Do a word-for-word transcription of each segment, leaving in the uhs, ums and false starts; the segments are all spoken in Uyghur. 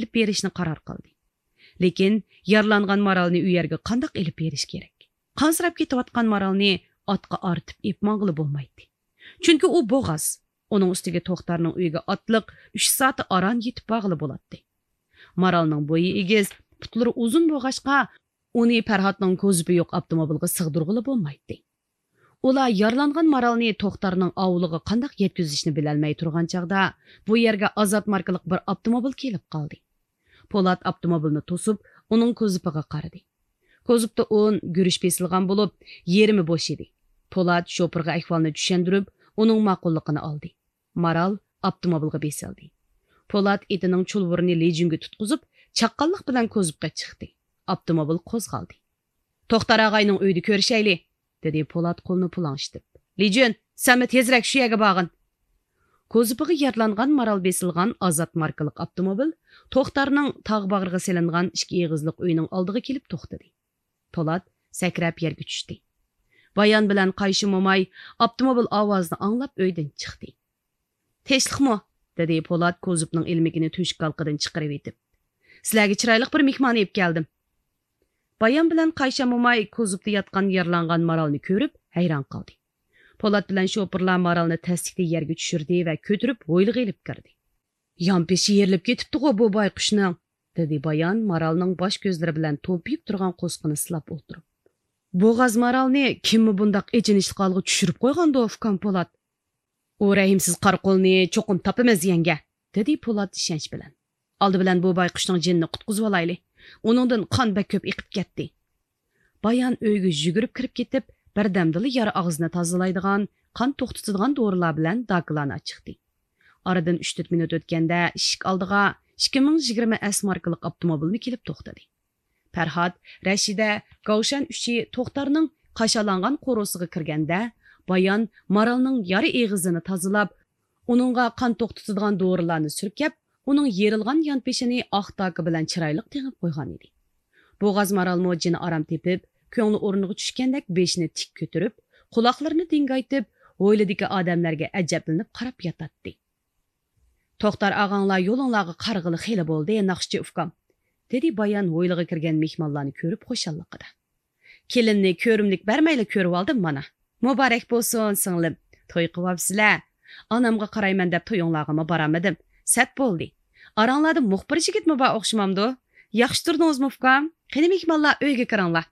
ئېلىپ بېرىشنى قارار قىلدى. لېكىن يارىلانغان مارالنى ئۇ يەرگە قانداق ئېلىپ بېرىش كېرەك؟ قانسىراپ كېتىۋاتقان مارالنى ئاتقا ئارتىپ ئېلىپ ماڭغىلى بولمايتتى. چۈنكى ئۇ بوغاز. ئۇنىڭ ئۈستىگە توختارنىڭ ئۆيىگە ئاتلىق ئۈچ سائەت ئاران يېتىپ بارغىلى بولاتتى. مارالنىڭ بويى ئېگىز، پۇتلىرى ئۇزۇن بولغاچقا، ئۇنى پەرھاتنىڭ كوزۇپى يوق ئاپتوموبىلغا سىغدۇرغىلى بولمايتتى. ئۇلار يارىلانغان مارالنى توختارنىڭ ئاۋۇلىغا قانداق يەتكۈزۈشنى بىلەلمەي تۇرغان چاغدا، بۇ يەرگە ئازات ماركىلىق بىر ئاپتوموبىل كېلىپ قالدى. پولات ئاپتوموبىلنى توسۇپ، ئۇنىڭ كوزۇپىغا قارىدى. كوزۇپتا ئۇن، گۈرۈچ بېسىلغان بولۇپ، يېرىمى بوش ئىدى. پولات شوپۇرغا ئەھۋالنى چۈشەندۈرۈپ، ئۇنىڭ ماقۇللۇقىنى ئالدى. مارال ئاپتوموبىلغا بېسىلدى. پولات ئېتىنىڭ چۇلۋۇرىنى لىجۈنگە تۇتقۇزۇپ، چاققانلىق بىلەن كوزۇپقا چىقتى. ئاپتوموبىل قوزغالدى. «توختار ئاغاينىڭ ئۆيىدە كۆرۈشەيلى!» دېدى پولات قولىنى پۇلاڭشىتىپ. «لىجۈن، سەنمۇ تېزرەك شۇ يەرگە بارغىن!» كوزۇپىغا يارىلانغان مارال بېسىلغان ئازات ماركىلىق ئاپتوموبىل توختارنىڭ تاغ باغرىغا سېلىنغان ئىككى ئېغىزلىق ئۆيىنىڭ ئالدىغا كېلىپ توختىدى. پولات سەكرەپ يەرگە چۈشتى. بايان بىلەن قايشى موماي ئاپتوموبىل ئاۋازىنى ئاڭلاپ ئۆيدىن چىقتى. «تىنچلىقمۇ؟» دېدى پولات كوزۇپنىڭ ئىلمىكىنى تۆشۈك ھالقىدىن چىقىرىۋېتىپ. «سىلەرگە چىرايلىق بىر مېھمان ئېلىپ كەلدىم.» بايان بىلەن قايشى موماي كوزۇپتا ياتقان يارىلانغان مارالنى كۆرۈپ ھەيران قالدى. پولات بىلەن شوپۇرلار مارالنى تەستىكتە يەرگە چۈشۈردى ۋە كۆتۈرۈپ ھويلىغا ئېلىپ كىردى. «يانپېشى يېرىلىپ كېتىپتىغۇ بۇ بايقۇشنىڭ!» دېدى بايان مارالنىڭ باش كۆزلىرى بىلەن تومپىيىپ تۇرغان قورسىقىنى سىلاپ ئولتۇرۇپ. «بوغاز مارالنى كىممۇ بۇنداق ئېچىنىشلىق ھالغا چۈشۈرۈپ قويغاندۇ، ئۇكام پولات؟» «ئۇ رەھىمسىز قارا قۇلنى چوقۇم تاپىمىز، يەڭگە!» دېدى پولات ئىشەنچ بىلەن. «ئالدى بىلەن بۇ بايقۇشنىڭ جېنىنى قۇتقۇزۇۋالايلى. ئۇنىڭدىن قان بەك كۆپ ئېقىپ كەتتى.» بايان ئۆيگە يۈگۈرۈپ كىرىپ كېتىپ، بىردەمدىلا يارا ئاغزىنى تازىلايدىغان، قان توختىتىدىغان دورىلار بىلەن داكىلارنى ئاچىقتى. ئارىدىن ئۈچ تۆت مىنۇت ئۆتكەندە ئىشىك ئالدىغا ئىككى مىڭ يىگىرمە ئەس ماركىلىق ئاپتوموبىلمۇ كېلىپ توختىدى. پەرھات، رەشىدە، گاۋشەن ئۈچى توختارنىڭ قاشالانغان قورۇسىغا كىرگەندە، بايان مارالنىڭ يارا ئېغىزىنى تازىلاپ، ئۇنىڭغا قان توختىتىدىغان دورىلارنى سۈركەپ، ئۇنىڭ يېرىلغان يانپېشىنى ئاق داكا بىلەن چىرايلىق تېڭىپ قويغان ئىدى. بوغاز مارالمۇ جېنى ئارام تېپىپ، كۆڭلى ئورنىغا چۈشكەندەك بېشىنى تىك كۆتۈرۈپ، قۇلاقلىرىنى دىڭگايتىپ، ھويلىدىكى ئادەملەرگە ئەجەبلىنىپ قاراپ ياتاتتى. «توختار ئاغاڭلار يولۇڭلارغا قارىغىلى خېلى بولدى، ناخشىچى ئۇكام.» دېدى بايان ھويلىغا كىرگەن مېھمانلارنى كۆرۈپ خۇشاللىقىدا. «كېلىننى كۆرۈملۈك بەرمەيلا كۆرۈۋالدىم مانا. مۇبارەك بولسۇن، سىڭلىم. توي قىلىۋاپسىلە. ئانامغا قارايمەن دەپ تويۇڭلارغىمۇ بارالمىدىم. سەت بولدى. ئاراڭلاردا مۇخبىر يىگىتمۇ بار ئوخشىمامدۇ؟ ياخشى تۇردىڭىزمۇ، ئۇكام؟ قېنى، مېھمانلار، ئۆيگە كىرىڭلار.»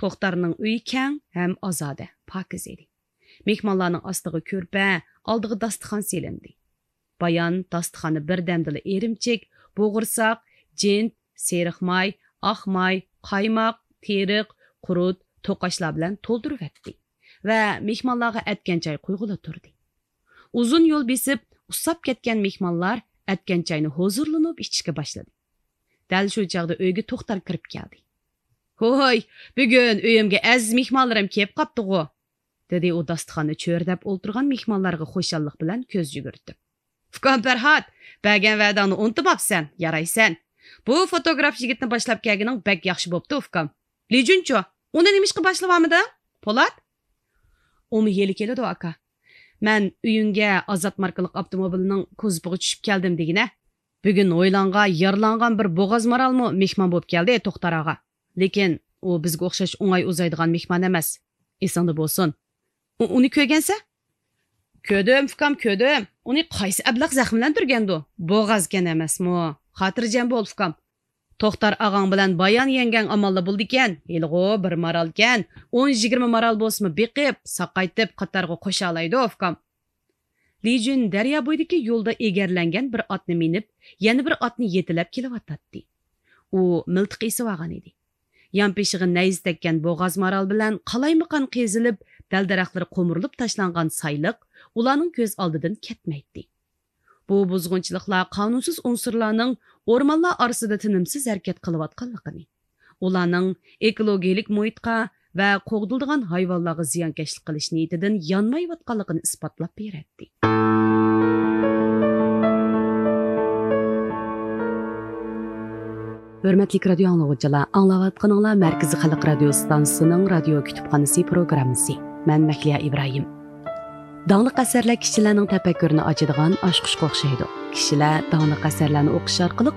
توختارنىڭ ئۆيى كەڭ ھەم ئازادە، پاكىز ئىدى. مېھمانلارنىڭ ئاستىغا كۆرپە، ئالدىغا داستىخان سېلىندى. بايان داستىخاننى بىردەمدىلا ئىرىمچىك، بوغۇرساق، جىنت، سېرىق ماي، ئاق ماي، قايماق، تېرىق، قۇرۇت، توقاچلار بىلەن تولدۇرۇۋەتتى ۋە مېھمانلارغا ئەتكەن چاي قۇيغىلى تۇردى. ئۇزۇن يول بېسىپ، ئۇسساپ كەتكەن مېھمانلار ئەتكەن چاينى ھۇزۇرلىنىپ ئىچىشكە باشلىدى. دەل شۇ چاغدا ئۆيگە توختار كىرىپ كەلدى. «ھوي، بۈگۈن ئۆيۈمگە ئەزىز مېھمانلىرىم كېلىپ قاپتىغۇ!» دېدى ئۇ داستىخاننى چۆرىدەپ ئولتۇرغان مېھمانلارغا خۇشاللىق بىلەن كۆز يۈگۈرتۈپ. «ئۇكام پەرھات، بەرگەن ۋەدەڭنى ئۇنتۇماپسەن، يارايسەن. بۇ فوتوگراف يىگىتنى باشلاپ كەلگىنىڭ بەك ياخشى بوپتۇ، ئۇكام. لىجۈنچۇ، ئۇنى نېمىشقا باشلىۋالمىدىڭ، پولات؟» «ئۇمۇ ھېلى كېلىدۇ، ئاكا. مەن ئۆيۈڭگە ئازات ماركىلىق ئاپتوموبىلنىڭ كوزۇپىغا چۈشۈپ كەلدىم دېگىنە. بۈگۈن ھويلاڭغا يارىلانغان بىر بوغاز مارالمۇ مېھمان بوپ كەلدى، توختار ئاغا. لېكىن ئۇ بىزگە ئوخشاش ئوڭاي ئۇزايدىغان مېھمان ئەمەس. ئېسىڭدە بولسۇن. ئۇ، ئۇنى كۆرگەنسەن؟» «كۆردۈم، ئۇكام، كۆردۈم. ئۇنى قايسى ئەبلەخ زەخىملەندۈرگەندۇ؟ بوغازكەن ئەمەسمۇ؟ خاتىرجەم بول، ئۇكام. توختار ئاغاڭ بىلەن بايان يەڭگەڭ ئامانلا بولىدىكەن. ھېلىغۇ بىر مارالكەن. ئون يىگىرمە مارال بولسىمۇ بېقىپ، ساقايتىپ، قاتارغا قوشالايدۇ، ئۇكام.» لىجۈن دەريا بويىدىكى يولدا ئېگەرلەنگەن بىر ئاتنى مىنىپ، يەنە بىر ئاتنى يېتىلەپ كېلىۋاتاتتى. ئۇ مىلتىق ئېسىۋالغان ئىدى. يانپېشىغا نەيزە تەگكەن بوغاز مارال بىلەن قالايمىقان قېزىلىپ، دەل-دەرەخلىرى قومۇرۇلۇپ تاشلانغان سايلىق ئۇلارنىڭ كۆز ئالدىدىن كەتمەيتتى. بۇ بۇزغۇنچىلىقلار قانۇنسىز ئۇنسۇرلارنىڭ ئورمانلار ئارىسىدا تىنىمسىز ھەرىكەت قىلىۋاتقانلىقىنى، ئۇلارنىڭ ئېكولوگىيەلىك مۇھىتقا ۋە قوغدىلىدىغان ھايۋانلارغا زىيانكەشلىك قىلىش نىيىتىدىن يانمايۋاتقانلىقىنى ئىسپاتلاپ بېرەتتى. ھۆرمەتلىك رادىيو ئاڭلىغۇچىلار، ئاڭلاۋاتقىنىڭلار مەركىزىي خەلق رادىيو ئىستانسىسىنىڭ رادىيو كۇتۇپخانىسى پروگراممىسى. مەن مەھلىيا ئىبراھىم. داڭلىق ئەسەرلەر كىشىلەرنىڭ تەپەككۇرىنى ئاچىدىغان ئاچقۇچقا ئوخشايدۇ. كىشىلەر داڭلىق ئەسەرلەرنى ئوقۇش ئارقىلىق